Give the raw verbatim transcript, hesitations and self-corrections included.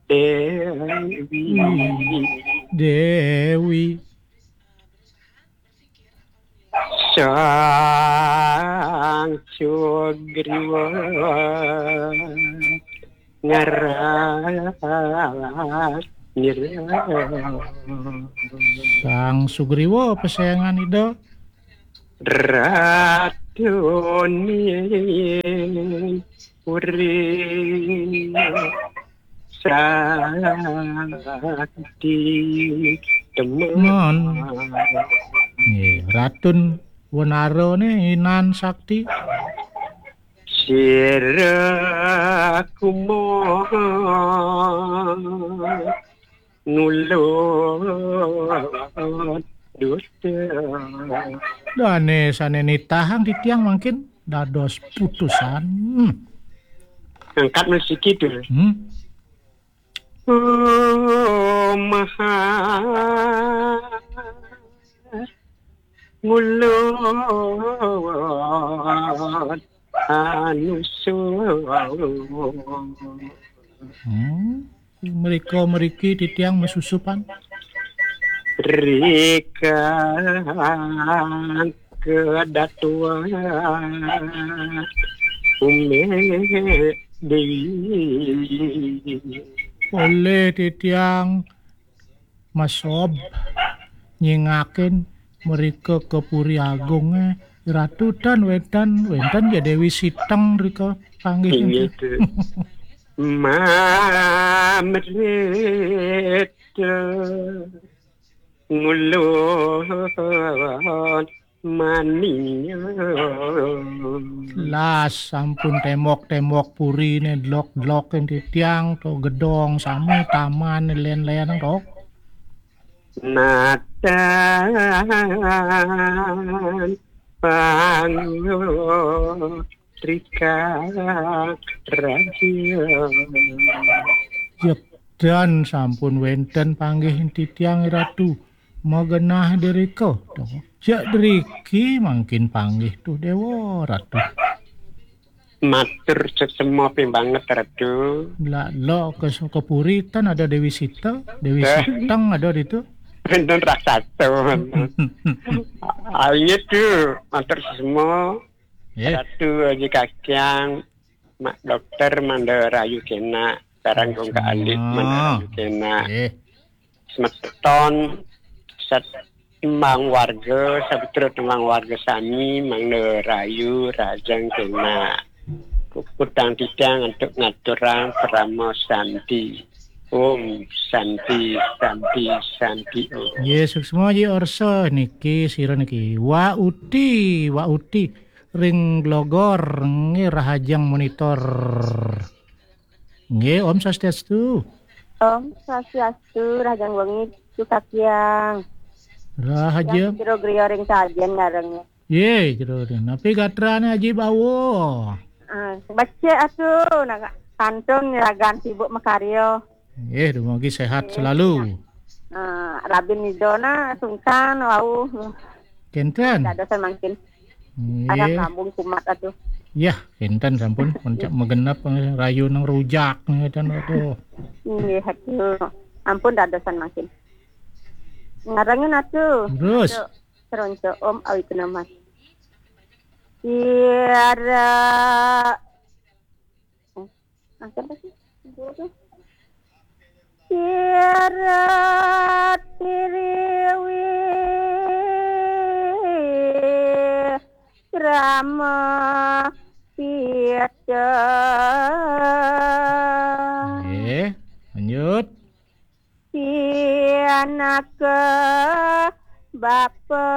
Dewi. Dewi. Sang Sugriwa ngarang nyerah. Sang Sugriwa pesengan Ida. Ratuning Puri Sakti Temen. Temen. Nggih, Ratun Wenara ne inan sakti. Sira kumoh ngulon dusta. Dane sane nitahang titiang mangkin dados putusan. Hmm. Angkat musik itu. Hmm. Oh, maha ngulon anusul. Hmm. Mereka meriki titiang mesusupan. Rika kedatuan Ume Dewi. Oleh titiang masob nyingakin merika ke Puri Agung, eh, Ratu tan wenten, wenten ya Dewi Siteng rika panggih. Inggih, niki. Mamrita ngulon mania. Las sampun tembok-tembok purine dlok-dlok ing titiang to gedong sami taman len-len to. Natan pangulon Trika Raja. Yekten sampun wenten panggih titiang Ratu. Magenah derika. Sejak deriki mangkin panggih tuh Dewa Ratu. Matur sesema ping banget Ratu. Lak lo ke, ke puri tan ada Dewi Sita, Dewi Siteng ada di tu. Wenten raksasa. Ayo tuh, matur sesema. Nggih. Ratu Aji Kakyang, Mak Dokter Manda Rayu kena, sareng Kong Kak Alit Manda Rayu kena. Nggih. Semeton sat tembang warga, sabetera tembang warga sami Manda Rayu rajang kena. Puputang titiang untuk ngaturang parama santi. Om Santi, Santi, Santi Om. Nggih, suksma Ji Orso niki sira niki. Wa Uti, Wa Uti ring Glogor nggih rahajeng monitor. Nggih, Om Swastiastu. Om Swastiastu, rahajeng wengi Cukakyang. Rahajeng. Kira griya ring sajen ngareng. Ye, jero. Napi gatrane Aji Bawo? Ah, becik atu, nah, kantun ragan sibuk makarya. Nggih, dumugi sehat selalu. Ah, rabin nidona sungkan wau. Kenten. Dadosan mangkin. Nggih. Arang lambung kumat atu. Yah, kenten sampun puncak magenep rayu nang rujak ngeten atu. Nggih, atu. Ampun dadosan mangkin. Ngarengin atu. Terus. Atu, seronco Om awit nama. Tiara. Eh, ah, siapa sih? Guru tuh. Tiara tiriwi Rama Pita. Nggih, lanjut. Pianaka bapa